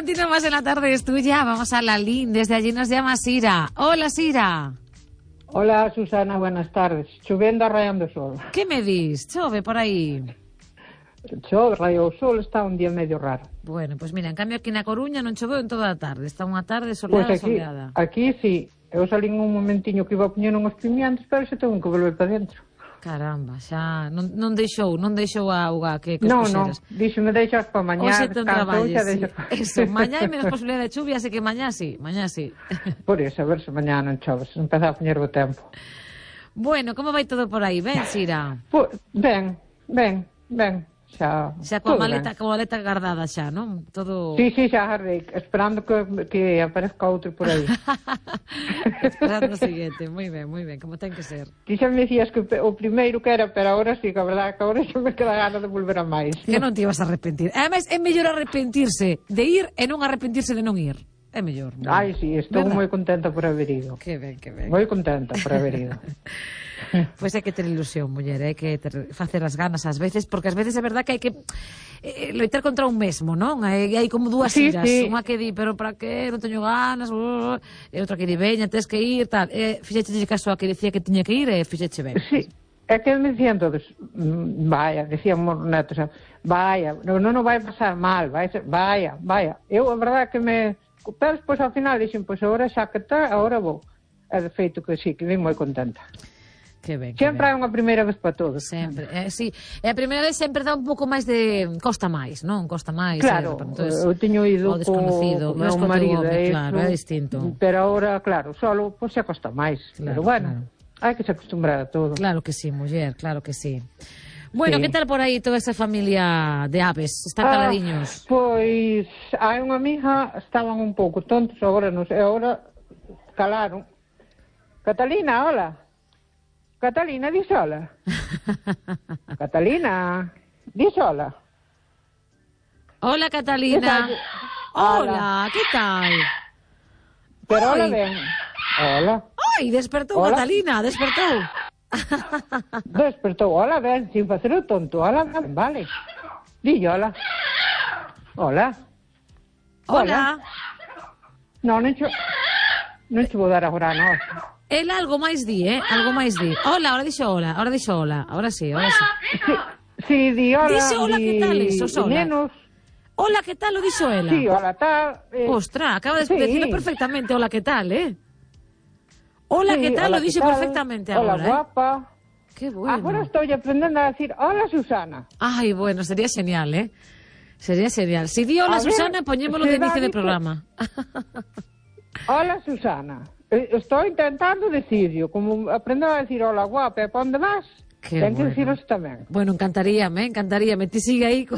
Continuamos en La Tarde es Tuya. Vamos a Lalín. Desde allí nos llama Sira. Hola, Sira. Hola, Susana, buenas tardes. Chovendo a raiando o sol. Que me dis? Chove por aí? Chove, raio o sol, está un día medio raro. Bueno, pues mira, en cambio aquí na Coruña non choveu en toda a tarde. Está unha tarde soleada, Pois aquí sí. Eu salín un momentiño que iba a poñer unhos pimientos, pero se tengo que volver para dentro. Caramba, xa non deixou a auga que non, puxeras. Non, díxome deixas para mañá. Hoxe te traballes, sí. Deixo... Eso, mañá hai menos posibilidade de chuvia, así que mañá sí. Por eso, a ver se mañá non choves, empezar a poñer o tempo. Bueno, como vai todo por aí? Ben, Sira? Pues, ben. Xa coa maleta guardada xa, non? Todo... Sí, xa agardei, esperando que aparezca outro por aí. Esperando o seguinte, moi ben, como ten que ser. Ti xa me dicías que o primeiro que era, pero agora sí, que a verdade que agora xa me queda gana de volver a máis. Que non te ibas a arrepentir. Ademais, é mellor arrepentirse de ir e non arrepentirse de non ir. É mellor. Non? Ai, sí, estou moi contenta por haber ido. Que ben. Moi contenta por haber ido. Pois hai que ter ilusión, muller, hai que facer as ganas ás veces, porque ás veces é verdad que hai que loitar contra un mesmo, non? Hai como dúas iras, unha que di, pero para que, non teño ganas, e outra que di, veña, tens que ir, tal. Fixeche caso a que dicía que tiña que ir e fixeche ben. Sí, é que me dicían todos, vaya, decían os netos, vaya, non vai pasar mal, vaya. Eu, a verdade que pero despois ao final dixen, pois agora xa que está, agora vou. É de feito que sí, que vim moi contenta. Que ben, sempre hai unha primeira vez para todos. Sempre, sí. E a primeira vez sempre dá un pouco máis de... Costa máis, non? Costa máis. Claro, eu teño ido co meu marido, claro, é distinto. Pero agora, claro, solo, pois xa costa máis. Pero bueno, hai que se acostumbrar a todo. Claro que sí, muller, claro que sí. Bueno, que tal por aí toda esa familia de aves? Están caladiños? Pois, hai unha amiga, estaban un pouco tontos, agora non sei, agora calaron. Catalina, hola. Catalina, dis hola. Catalina, dis hola. Hola, Catalina. Hola, que tal? Pero hola ben. Hola. Ai, despertou Catalina, despertou. Despertou, hola ben, sin facer o tonto. Hola ben, vale. Dille hola. Hola. Non che vou dar agora, non. El algo máis di, algo máis di. Hola, ahora dixo hola, ahora sí. Sí, di hola. Dixe hola, que tal eso, sola? Nenos. Hola, que tal, o dixo ela? Sí, hola, tal. Ostras, acaba de decirlo perfectamente, hola, que tal, Hola, que tal, lo dixo perfectamente agora, Hola, guapa. Qué bueno. Agora estou aprendendo a decir hola, Susana. Ai, bueno, sería genial, Sería genial. Si di hola, Susana, poñémolo de inicio del programa. Hola, Susana. Estou intentando decirlo, como aprender a decir hola, guapa, para onde vas? Ten que deciros tamén. Bueno, encantaríame. Ti sigue aí.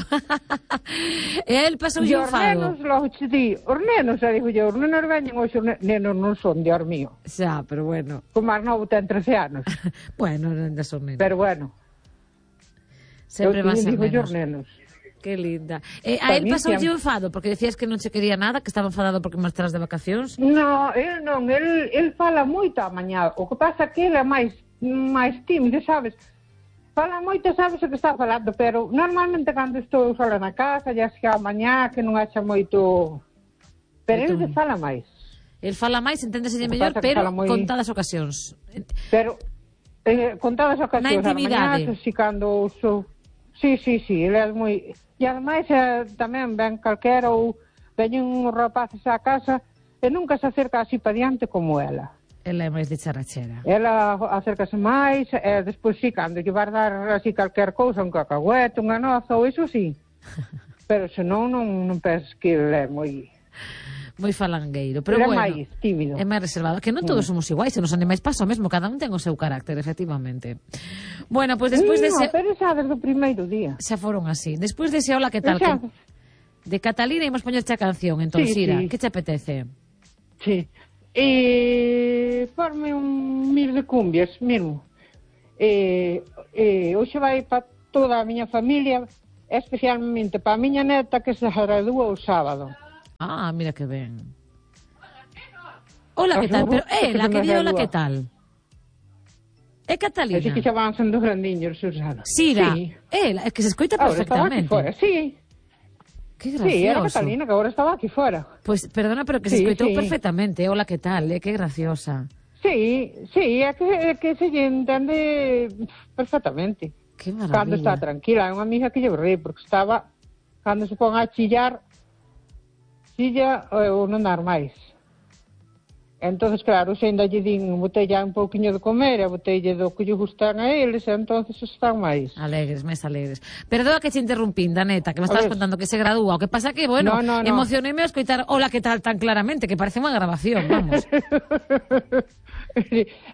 El pasou yo fado. Os nenos, digo yo, os nenos veñen hoxe, os nenos non son de mío. Xa, pero bueno. O máis novo ten 13 anos. Bueno, ainda son nenos. Pero bueno. Sempre van ser nenos. Que linda. A él pasou yo enfado, porque decías que non se quería nada, que estaba enfadado porque marcharas de vacacións. No, el fala moito a mañá. O que pasa que ele é máis tímido, sabes? Fala moito, sabes o que está falando, pero normalmente cando estou sola na casa, ya xa a mañá, que non haxa moito... Pero ele fala máis. El fala máis, enténdeselle mellor, pero contadas ocasións. Pero contadas ocasións. Na intimidade. Si cando uso... Sí, ele é moi... E ademais tamén ven calquera ou veñen uns rapaces á casa e nunca se acerca así para diante como ela. Ela é máis de charachera. Ela acércase máis e despois sí, cando lle vas dar así calquer cousa, un cacahuete, unha noza ou iso sí. Pero senón non penses que ele é moi falangueiro, pero bueno, é máis tímido. É máis reservado, que non todos somos iguais, e nos animais pasa o mesmo, cada un ten o seu carácter, efectivamente. Bueno, pois despois dese... pero xa desde o primeiro día. Xa foron así. Despois dese hola, que tal? De Catalina imos poñerche a canción, entón, Sira, que te apetece? Sí. Forme un mil de cumbias, mesmo. Hoxe vai para toda a miña familia, especialmente para a miña neta que se gradúa o sábado. Ah, mira que ben. Hola, que tal? Pero ela, que di hola, que tal? É Catalina. É que xa van sendo grandiños, Susana. Sira, ela, é que se escoita perfectamente. Sí. Que gracioso. Sí, era Catalina, que agora estaba aquí fora. Pois, perdona, pero que se escoitou perfectamente. Hola, que tal, que graciosa. Sí, é que se lle entende perfectamente. Que maravilla. Cando está tranquila, é unha amiga que lle borrei, porque estaba, cando se pon a chillar, chilla ou non dar máis. Entonces, claro, se ainda lle din, botella un pouquiño de comer, e botella do que lle gustan a eles, entonces están máis. Alegres, máis alegres. Perdona que te interrumpín, Daneta, que me estabas contando que se gradúa. O que pasa que, bueno, emocioneime a escoitar hola, que tal, tan claramente, que parece unha grabación, vamos.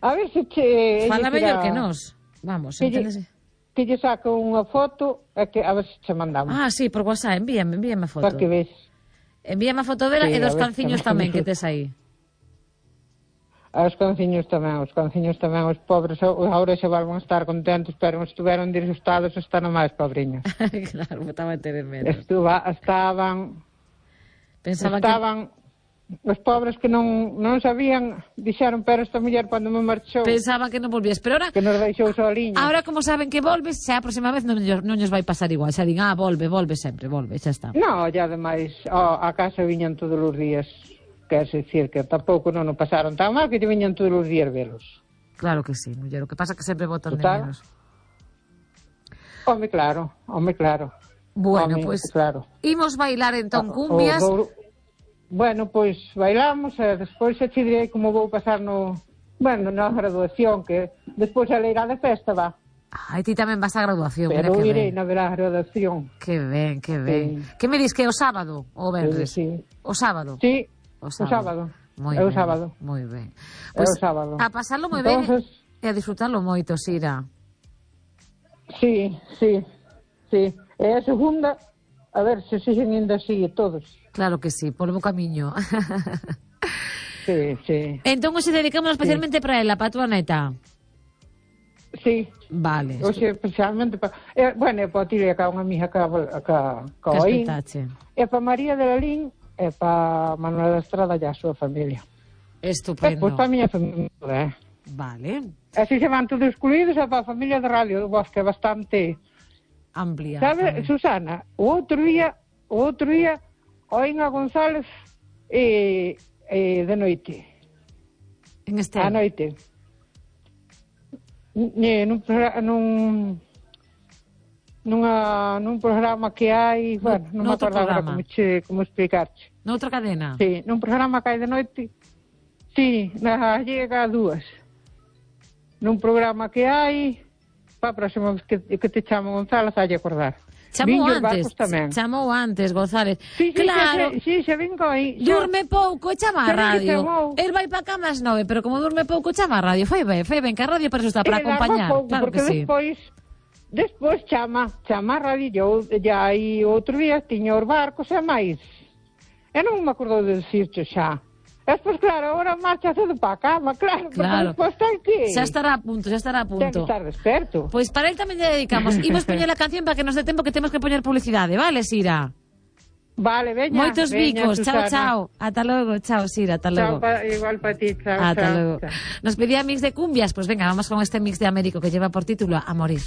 A ver se che... Fala mellor que nós. Vamos, enténdese. Que lle saco unha foto, e que a ver se che mandamos. Ah, sí, por WhatsApp, envíame a foto. Para que ves. Envíame a foto dela e dos canciños tamén que tes aí. Os canciños tamén, os pobres agora xa van a estar contentos, pero estiveron disgustados, están máis pobriños. Claro, estaba a tener menos. Estaban os pobres que non sabían, dixeron, pero esta muller cando me marchou pensaban que non volvías, pero ahora que nos deixou soliños. Ahora como saben que volves, xa a próxima vez non lles vai pasar igual, xa din, volve sempre, xa está. No, e ademais a casa viñan todos os días. Quer decir que tampouco non o pasaron tan mal que te viñan todos os días velos. Claro que sí, muller, o que pasa que sempre botan de menos. Home, claro. Bueno, pois, claro. Imos bailar entón cumbias. Bueno, pois bailamos e despois xa te direi como vou pasar na graduación, que despois a leira de festa va. Ai, ti tamén vas á graduación, pero mira que irei na verá graduación. Que ben. Que me dis que é o sábado ou o venres? Sí. O sábado? Sí. O sábado. Moi ben. Pois o sábado. A pasarlo moi ben e a disfrutarlo moito, Sira. Sí. E a segunda, a ver se siguen ainda así todos. Claro que sí, polo bo camiño. Sí. Entón, hoxe dedicamos especialmente para ela, para a túa neta. Sí. Vale. Hoxe especialmente para... bueno, é para ti, que unha amiga que oín. É para María de Lalín, e para Manuel da Estrada e a súa familia. Estupendo. Pois para a miña familia, Vale. Así se van todos excluídos, e para a familia de Radio do Bosque, bastante amplia. Sabe, Susana, o outro día oín a González de noite. En este? A noite. Nun programa que hai, bueno, non me acordo agora como explicarte. Noutra cadena? Sí, nun programa que hai de noite, sí, na Gallega 2. Nun programa que hai, para a próxima vez que te chamo González, hai de acordar. Chamou antes, González. Sí, claro. Sí, xa vengo aí. Durme pouco e chama a radio. El vai para cama ás 9, pero como durme pouco chama a radio. Foi ben, que a radio para eso está, para acompañar. Claro que sí. Despois chama a radio, ya aí outro día tiña os barcos e máis. Eu non me acordo de dicircho xa. Despois, claro, agora marcha cedo para a cama, claro. Despois ten que... Xa estará a punto. Ten que estar desperto. Pois para él tamén lle dedicamos. Imos poñer a canción para que nos dé tempo que temos que poñer publicidade, vale, Sira? Vale, veña. Moitos bicos, chao. Ata logo, chao, Sira, ata logo. Igual para ti, chao. Ata logo. Nos pedía mix de cumbias, pois venga, vamos con este mix de Américo que lleva por título A Morir.